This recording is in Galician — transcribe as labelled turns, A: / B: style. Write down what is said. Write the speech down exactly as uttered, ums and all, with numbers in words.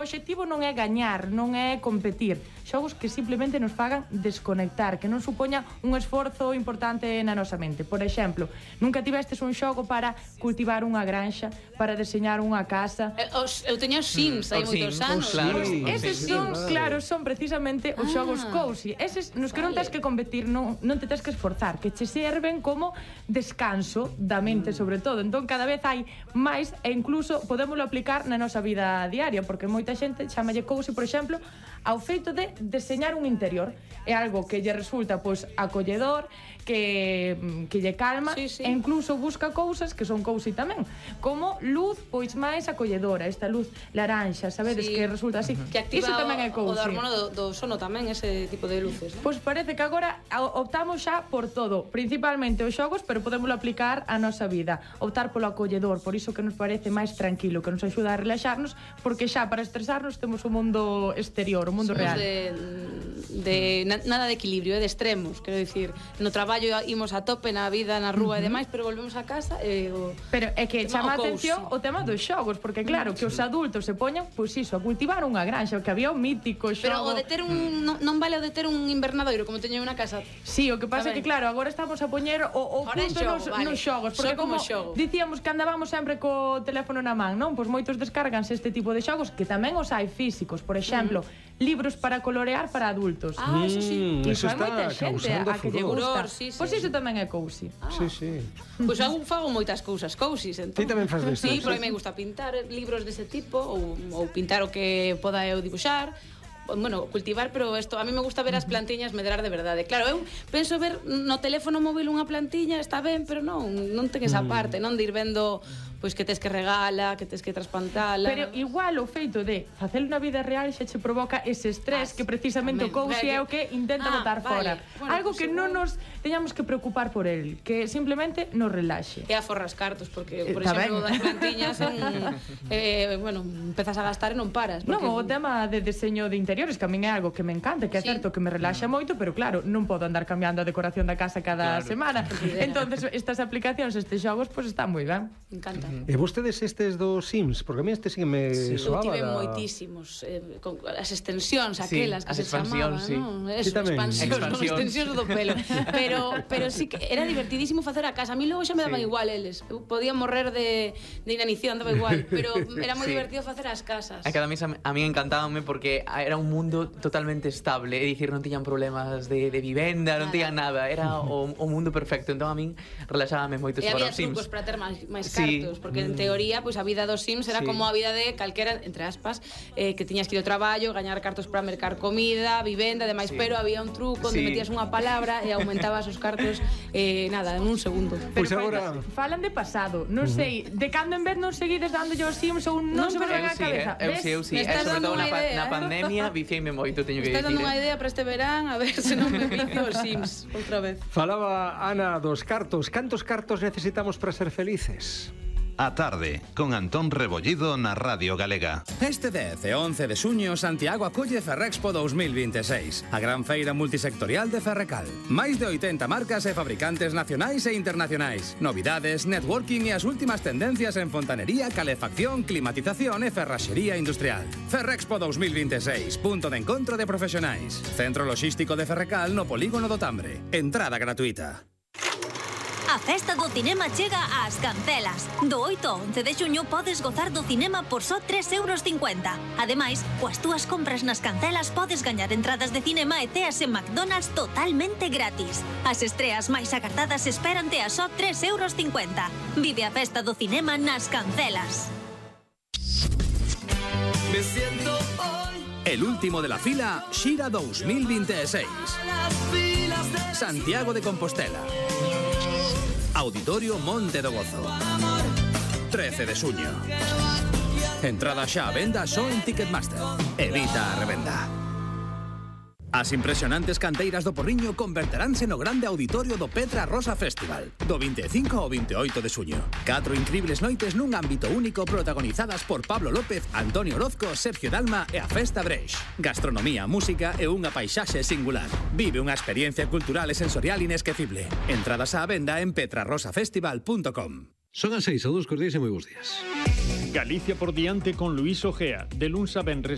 A: O obxectivo non é gañar, non é competir. Xogos que simplemente nos fagan desconectar, que non supoña un esforzo importante na nosa mente. Por exemplo, nunca tivestes un xogo para cultivar unha granxa, para deseñar unha casa.
B: Eu teño os Sims, hai moitos anos.
A: Claro. Eses son, claro, son precisamente os xogos cozy. Eses nos que non tens que competir, non, non te tens que esforzar, que che serven como descanso da mente, sobre todo. Entón, cada vez hai máis e incluso podémolo aplicar na nosa vida diaria, porque moita xente chamalle cozy, por exemplo, ao feito de deseñar un interior. É algo que lle resulta pois acolledor, que, que lle calma, sí, sí. E incluso busca cousas que son cozy tamén, como luz pois máis acolledora, esta luz laranxa, sabedes, sí. Que resulta así.
B: Que activa
A: iso tamén é cozy.
B: O do hormono do, do sono tamén, ese tipo de luces, ¿no?
A: Pois parece que agora optamos xa por todo, principalmente os xogos, pero podémoslo aplicar á nosa vida. Optar polo acolledor, por iso que nos parece máis tranquilo, que nos axuda a relaxarnos, porque xa para estresarnos temos o mundo exterior, o mundo real.
B: De, de nada de equilibrio, de extremos, quero dicir, no traballo imos a tope, na vida, na rúa e demais, pero volvemos a casa e o...
A: Pero é que chama a atención o tema dos xogos, porque claro, que os adultos se poñan, pois iso, a cultivar unha granxa, que había un mítico xogo.
B: Pero o de ter un, non, non vale o de ter un invernadoiro, como teño unha casa.
A: Sí, o que pasa é que claro, agora estamos a poñer o, o punto nos, vale. nos xogos, porque como,
B: xogo.
A: dicíamos que andábamos sempre co teléfono na man, non? Pois moitos descarganse este tipo de xogos, que tamén os hai físicos, por exemplo, mm. libros para colorear para adultos.
B: Ah, eso sí.
A: Que iso hai moita xente a que lle gusta.
B: Sí, sí.
A: Pois iso tamén é cozy.
C: Ah. Sí, sí.
B: Pois eu fago moitas cousas cozy, entón.
C: Ti tamén faz destas.
B: Sí, porque me gusta pintar libros dese tipo ou, ou pintar o que poda eu dibuixar. Bueno, cultivar, pero isto a mí me gusta ver as plantiñas medrar de verdade. Claro, eu penso ver no teléfono móvil unha plantiña, está ben, pero non, non ten esa parte, non de ir vendo pois que tes que regala, que tes que trasplantala.
A: Pero igual o feito de facelo na vida real xa che provoca ese estrés, ah, que precisamente o cozy é o que intenta ah, botar fora.
B: Vale. Bueno,
A: algo
B: pues
A: que
B: igual
A: non nos teñamos que preocupar por el, que simplemente nos relaxe.
B: E aforras cartos, porque, por eh, exemplo, das plantiñas son, eh, bueno, empezas a gastar e non paras.
A: Porque... Non, o tema de deseño de interiores, que a min é algo que me encanta, que é sí. certo que me relaxa moito, pero claro, non podo andar cambiando a decoración da casa cada claro. semana. Entonces, estas aplicacións, estes xogos, pois pues, están moi ben.
B: Me encanta.
C: E vostedes estes dos Sims? Porque a mí este sí que me sí. soaba.
B: Eu tive
C: da...
B: moitísimos, eh, con as extensións aquelas
D: sí,
B: que se chamaban,
D: sí.
B: ¿no? Eso, sí, expansións, non extensións do pelo. Pero, pero sí que era divertidísimo facer a casa. A mí logo xa me daba sí. igual eles. Eu podía morrer de, de inanición, daba igual. Pero era moi sí. divertido facer as casas.
D: É que a mí, a mí encantábame porque era un mundo totalmente estable. É dicir, non tiñan problemas de, de vivenda, nada. non tiñan nada. Era o, o mundo perfecto. Entón a min relaxábame moito
B: e
D: para
B: os
D: Sims.
B: E había trucos para ter máis, máis cartos, sí. porque en teoría, pois pues, a vida dos Sims era sí. como a vida de calquera, entre aspas, eh, que tiñas que ir ao traballo, gañar cartos para mercar comida, vivenda, demais, sí. pero había un truco onde sí. metías unha palabra e aumentabas os cartos, eh, nada, en un segundo.
C: Pois pues agora...
A: Falan de pasado, non uh -huh. sei, de cando en vez non seguides dándolle aos Sims ou non, non se me ven a cabeza.
D: Eu sí, eu sí, sobre todo na, na pandemia viciei-me moito, teño que
B: dicir. Estás dando unha
D: eh?
B: idea para este verán, a ver se non me vicio os Sims outra vez.
C: Falaba Ana dos cartos. Cantos cartos necesitamos para ser felices?
E: A tarde, con Antón Rebollido na Radio Galega.
F: Este dez e once de xuño, Santiago acolle Ferrexpo dous mil vinte e seis, a gran feira multisectorial de Ferrecal. Máis de oitenta marcas e fabricantes nacionais e internacionais. Novidades, networking e as últimas tendencias en fontanería, calefacción, climatización e ferraxería industrial. Ferrexpo dous mil vinte e seis, punto de encontro de profesionais. Centro logístico de Ferrecal no Polígono do Tambre. Entrada gratuita.
G: A festa do cinema chega ás Cancelas. Do oito ao once de xuño podes gozar do cinema por só tres euros cincuenta. Ademais, coas túas compras nas Cancelas podes gañar entradas de cinema e ceas en McDonald's totalmente gratis. As estreas máis agardadas esperante a só tres euros cincuenta. Vive a festa do cinema nas Cancelas.
F: Me siento hoy. El último de la fila, Xira dous mil vinte e seis. Santiago de Compostela. Auditorio Monte do Gozo. trece de xuño. Entrada xa a venda só en Ticketmaster. Evita a revenda. As impresionantes canteiras do Porriño converteránse no grande auditorio do Petra Rosa Festival, do vinte e cinco ao vinte e oito de xuño. Catro incribles noites nun ámbito único protagonizadas por Pablo López, Antonio Orozco, Sergio Dalma e a Festa Breix. Gastronomía, música e unha paisaxe singular. Vive unha experiencia cultural e sensorial inesquecible. Entradas á venda en petra rosa festival punto com.
H: Son as seis, a dos cos días e moi bons días.
I: Galicia por diante con Luís Ojea, de luns a venres